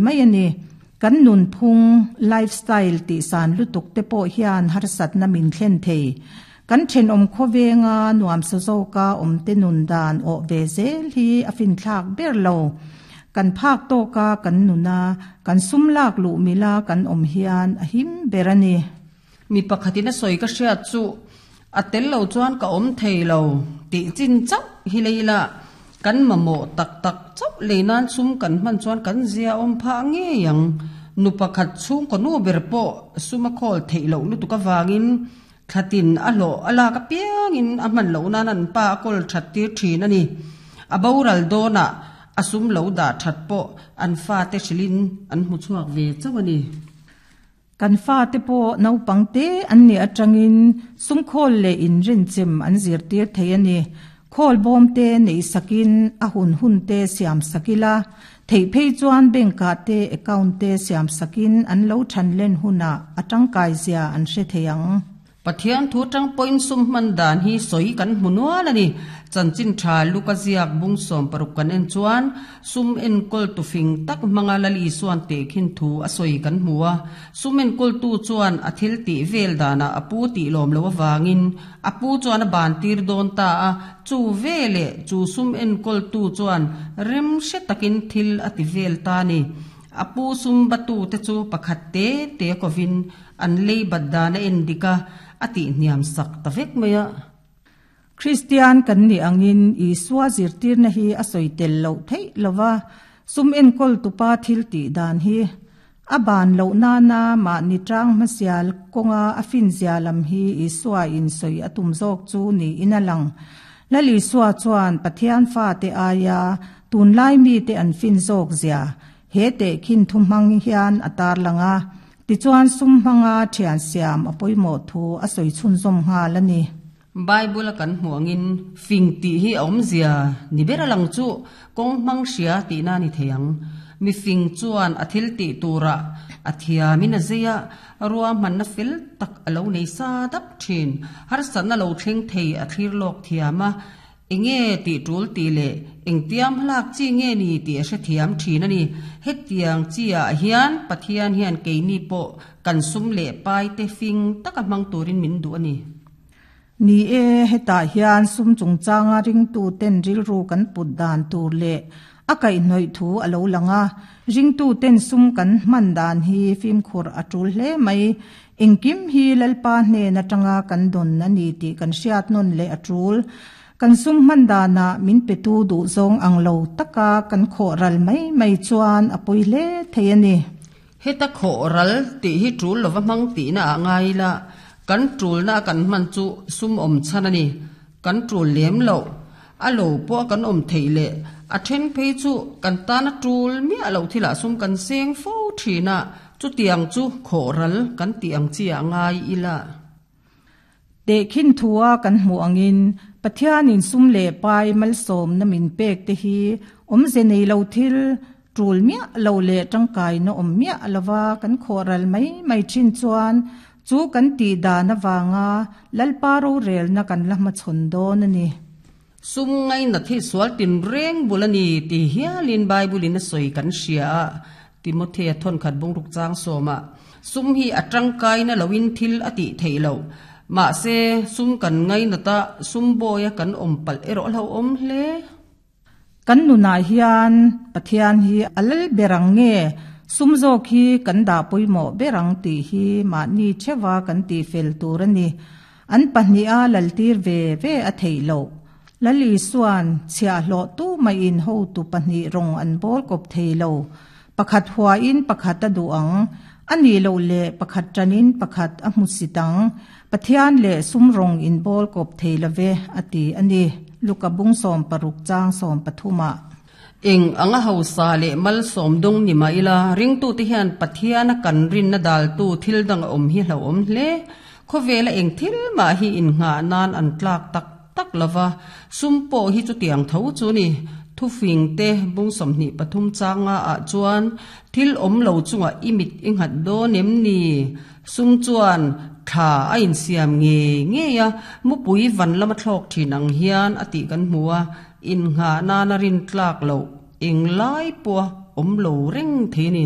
Mai a ni. Kan nunphung, life style, tihsan lutuk te pawh hian harsatna min thlen thei. Kan thenawm khawvenga nuamsa zawka awmte nun dan awh ve zel hi a finthlak ber lo. Kan phak tawka kan nuna kan sum lak luh mila kan awm hian a him ber a ni. Mi pakhatin a sawi ka hriat chu a tel lo chuan ka awm thei lo tih chin chauh hi lei la, kan mamawh tak tak chauh lei nan sum kan hman chuan kan zia awm phah ngei ang. Nu pakhat chhungkaw nu ber pawh sum a khawl theih loh lutuk avangin thlatin a hlawh a lak apiangin a hman loh nan an pa a kawl that tir thin a ni. A boral dawnah a sum lo dah that pawh an fate hrilhin an hmu chhuak ve chauh a ni. Kan fate pawh naupang te an nih atangin sumkhawl leh inrinchem an zirtir thei a ni. Khawl bawm te neih sakin a hun hun te siam sak ila, theih phei chuan bank ah te account te siam sakin an lo than len hunah a tangkai zia an hre thei ang. Pathian thu tang pawhin sum hman dan hi sawi kan hmu nual a ni. Chanchin tha Luka ziak bung 60 kan en chuan sum enkawltu fing tak hmanga Lal Isuan tehkhin thu a sawi kan hmu a. Sum enkawltu chuan a thil tih vel danah a pu tih lawm loh avangin a pu chuan a ban tir dawn ta a, chu veleh chu sum enkawltu chuan rem hre takin thil a ti vel ta a ni. A pu sum batu te chu pakhat te te kovin An lei bat dan a en dik a, a tihhniam sak ta vek mai a. Kristian kan nih angin Isua zirtirna hi a sawi tel loh theih lo va, sum enkawl tupa thil tih dan hi a ban loh nana mahni tang hmasial kawnga a finzia lam hi Isua in sawi a tum zawk chu niin a lang. Lal Isua chuan Pathian fate aia tunlai mite an fin zawk zia he tehkhin thu hmang hian a tarlang a. Tichuan sum hmanga thian siam a pawimawh thu a sawi chhunzawm nghal a ni. Bible a kan hmuh angin fing tih hi a awmzia ni ber a lang chu kawng hmang hria tihna a ni thei ang. Mi fing chuan a thil tih turah a thiamin a zei a, ruahmanna fel tak a lo nei sa dap thin. Harsatna lo thleng thei a thlir lawk thiam a, Enge tih tul tih leh engtiam hlak chi nge ni tih a hrethiam thin a ni. Hetiang chi ah hian Pathian hian keini pawh kan sum leh pai te fing taka hmang turin min duh a ni. Ni e, hetah hian sum chungchanga ringtu ten rilru kan put dan tur leh a kaihhnawih thu a lo lang a. Ringtu ten sum kan hman dan hi fimkhur a tul hle mai. Engkim hi Lalpa hnen atanga kan dawn a ni tih kan hriat nawn leh a tul. Kan sum hman danah min petu duh zawng ang lo taka kan khawh ral mai mai chuan a pawi hle thei a ni. Heta khawh ral tih hi tul lova hmang tihna ah ngai ila, kan tulna a kan hman chu sum awm chhan a ni. Kan tul lem loh, a lo pawh a kan awm theih leh a then phei chu kan tana tul miah loh thilah sum kan seng fo thin a, Chutiang chu khawhral kan tih ang chi ah ngai ila. Tehkhin thua kan hmuh angin Pathianin sum leh pai malsawmna min pek te hi awmze nei lo thil tul miah lo leh tangkaina awm miah lova kan khawhral mai mai thin chuan chu kan tih dan avanga Lalpa rorelna kan la hmachhawn dawn a ni. Sum ngainat hi sual tinreng bul a ni ti hialin Bible-in a sawi kan hria a, Timothea thawnkhat bungruk chang sawmah, Sum hi a tangkaina loin thil a tih theih loh. Mahse, sum kan ngainat a, sum bawia kan awm palh erawh a hlauhawm hle. Kan nunah hian Pathian hi a lal ber ang nge, sum zawk hi kan dah pawimawh ber ang tih hi mahni theuha kan tihfel tur a ni. An pahniha laltir ve ve a theih loh. Lal Isua'n chhiahhlawh tu maiin hotu pahnih rawng an bawl kawp thei lo. Pakhat huain pakhat a duh ang, a nih loh leh pakhat ṭanin pakhat a hmu sit ang. Pathian leh sum rawng in bawl kawp thei lo ve, a ti a ni. Luka bung 60 chang 13 ah. Eng anga hausa leh malsawm dawng ni mah ila, ringtute hian Pathiana kan rinna daltu thil dang a awm hi hlauhawm hle. Khawvela eng thil mah hi innghah nan an tlak tak tak lo va, sum pawh hi chutiang tho chu ni. Thufing te bung 23 changa ah chuan thil awm lo chungah i mit i nghat dawn em ni? Sum chuan thla a insiam ngei ngei a, mupui van lama thlawk thin ang hian a tih kan hmu a, innghah nana rin tlak loh eng lai pawha awm lo reng thei a ni.